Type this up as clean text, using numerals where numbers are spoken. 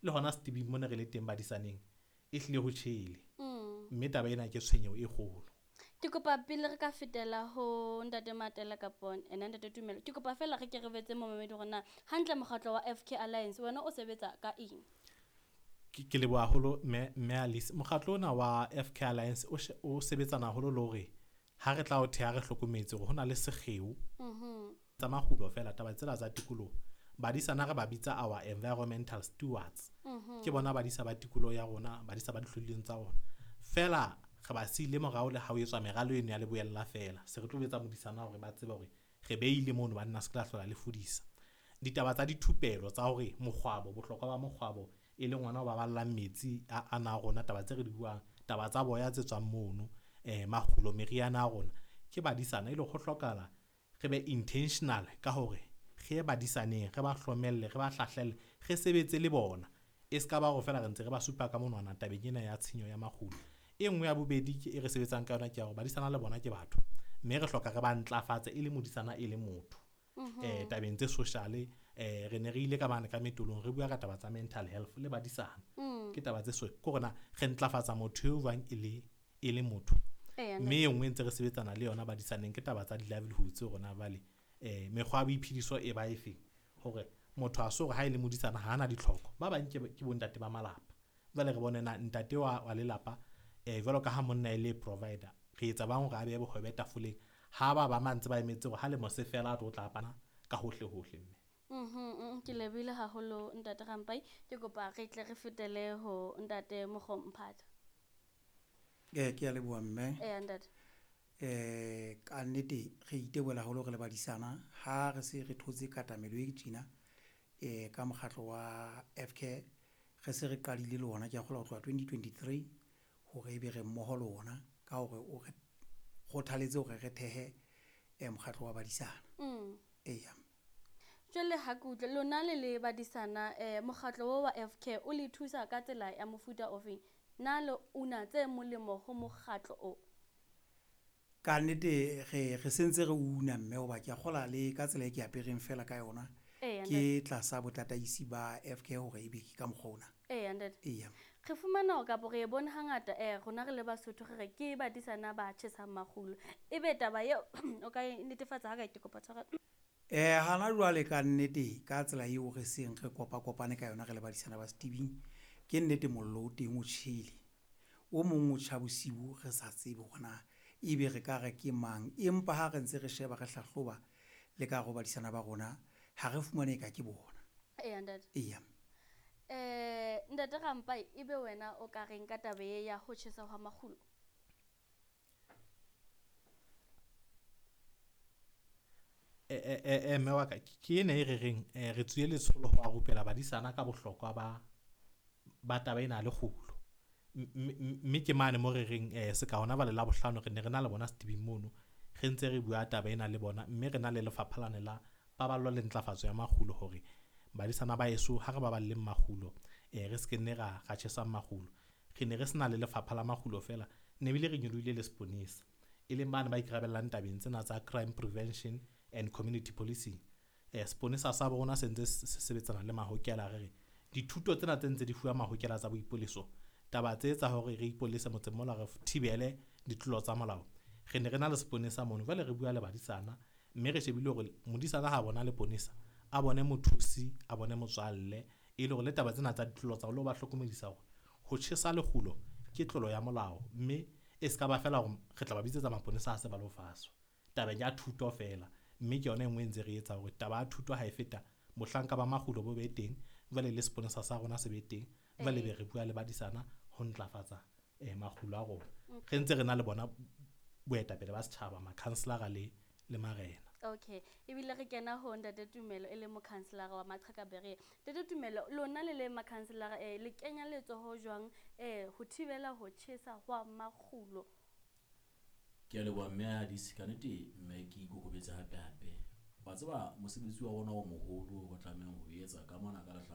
Le hona setibing mona re le teng badisaneng, e hlile ho tjhele. Mme taba ena ke tshwenyeho e kgolo. Ke kopa pele re ka fetela ho Ntate Matela kapo ena Ntate Tumelo, ke kopa feela re ke re betse momamedi hore na hantle mokgatlo wa FK Alliance wena o sebetsa ka eng? Ke leboha haholo mme Alice. Mokgatlo ona wa FK Alliance o sebetsana haholo le hore ha re tla o theha re hlokometse hore ho na le sekgeo tsa makgulo feela, taba tsena tsa tikoloho. Badisana re ba bitsa our environmental stewards. Ke bona badisa ba tikoloho ya rona, badisa ba dihlodileng tsa rona. Feela re ba siile morao le ha o etswa meralo eno ya leboella feela. Se re tlo etsa modisana hore ba tsebe hore re beile mono banna se ke la hlola le fodisa. Ditaba tsa dithupelo tsa hore mokgwabo, bohlokwa ba mokgwabo e leng ona o baballang metsi a na rona, taba tse re di buang, taba tsa boya tse tswang mono, makgulo, meriana ya rona, ke badisana e le ho hlokahala re be intentional ka hore re ye badisaneng, re ba hlomelle, re ba hlahlelle, re sebetse le bona. E ska ba hore feela re ntse re ba supa ka monwana tabeng ena ya tshenyo ya makgulo. E nngwe ya bobedi ke e re sebetsang ka yona ke ya hore badisana le bona ke batho, mme re hloka re ba ntlafatse e le modisana e le motho. Tabeng tse social, re ne re ile ka mane ka metolong re bua ka taba tsa mental health le badisana. Ke taba tse so, ke hore na re ntlafatsa motho eo jwang e le motho. Mme e nngwe ntse re sebetsana le yona badisaneng ke taba tsa di-livelihoods tse rona jwale. Mekgwa ya boiphediso e ba efeng hore motho a so hore ha e le modisana ha ana ditlhoko. Ba bang ke bontate ba malapa. Jwale re bone na ntate wa lelapa, jwalo ka ha monna e le provider, re etsa bang hore a behe bohobe tafoleng. Ha ba ba mantse ba emetse hore ha lemo se fela a tlo tla pana ka hohle hohle mme. Ke lebohile haholo Ntate Rampai. Ke kopa re tle re fetele ho Ntate Mokgomphatha. Ke a leboha mme. Ntate. Ka nnete re itebohela haholo re le badisana ha re se re thotse katamelo e tjena, ka mokgatlo wa FK re se re qadile le ona, ke a kgolwa ho tloha 2023 hore ebe re mmoho le ona ka hore o re kgothaletse hore re thehe mokgatlo wa badisana. Eya. Jwale ha ke utlwe lona le le badisana, mokgatlo o wa FK o le thusa ka tsela ya mofuta ofeng? Na le una tse molemo ho mokgatlo o? Ka nnete re sentse re una mme hoba ke a kgolwa le ka tsela e ke apereng fela ka yona. Ke tlasa botataisi ba FK hore ebe ke ka mokgwa ona. Ntate. Eya. Re fumana hore kapo re e bone hangata, rona re le Basotho re re ke badisana ba tjhesang makgulo. Ebe taba eo o ka e netefatsa ha ka ke kopa tshwarelo? Hana jwale ka nnete ka tsela eo re seng re kopa-kopane ka yona re le badisana ba setibing, ke nnete mollo o teng o tjhele. O mong o tjha bosiu re sa tsebe hore na ebe re ka re ke mang, empa ha re ntse re sheba re hlahloba le ka hare ho badisana ba rona, ha re fumane eka ke bona. Eya, ntate. Eya. Ntate Rampai, ebe wena o ka reng ka taba e ya ho tjhesa hwa makgulo? Mme wa ka, ke ena e re reng, re tswile letsholo ho rupela badisana ka bohlokwa ba taba ena ya lekgulo. Mme ke mane mo re reng, se ka hona bale la bohlano re ne re na le bona setibing mono, re ntse re bua taba ena le bona, mme re na le lefapha lane la paballo le ntlafatso ya makgulo hore badisana ba heso ha re baballeng makgulo, re se ke nne ra tjhesa makgulo. Re ne re sena le lefapha la makgulo feela, ne bile re nyolohile le seponesa, e leng bane ba ikarabellang tabeng tsena tsa crime prevention and community policing. Seponesa sa bo rona se ntse se sebetsana le mahokela, re re dithuto tsena tse ntse di fuwa mahokela tsa boipoleso, taba tse tsa hore re ipolese motseng mola re thibele ditlolo tsa molao. Re ne re na le seponesa mono, jwale re bua le badisana, mme re shebile hore modisana ha bona leponesa, a bone mothusi, a bone motswalle, e le hore le taba tsena tsa ditlolo tsa ho ba hlokomedisa hore ho tjhesa lekgulo ke tlolo ya molao, mme e ska ba feela hore re tla ba bitsetsa maponesa ha se ba lo faswa. Tabeng ya thuto feela, mme ke yona e nngwe e ntse re etsa hore taba ya thuto ha e feta, mohlanka ba makgulo bo be teng, jwale le seponesa sa rona se be teng, jwale be re bua le badisana ho ntlafatsa, makgulo a rona. Re ntse re na le bona boetapele ba setjhaba, makhanselara le marena. Okay, ebile re kena ho Ntate Tumelo e le mokhanselara wa Maqheka Berea. Ntate Tumelo, lona le le makhanselara, le kenya letsoho jwang, ho thibela ho tjhesa hwa makgulo? Ke a leboha mme Alice, ka nnete mme ke ikokobetse hape hape. Wa tseba mosebetsi wa rona o moholo o re tlamehang ho etsa ka mona ka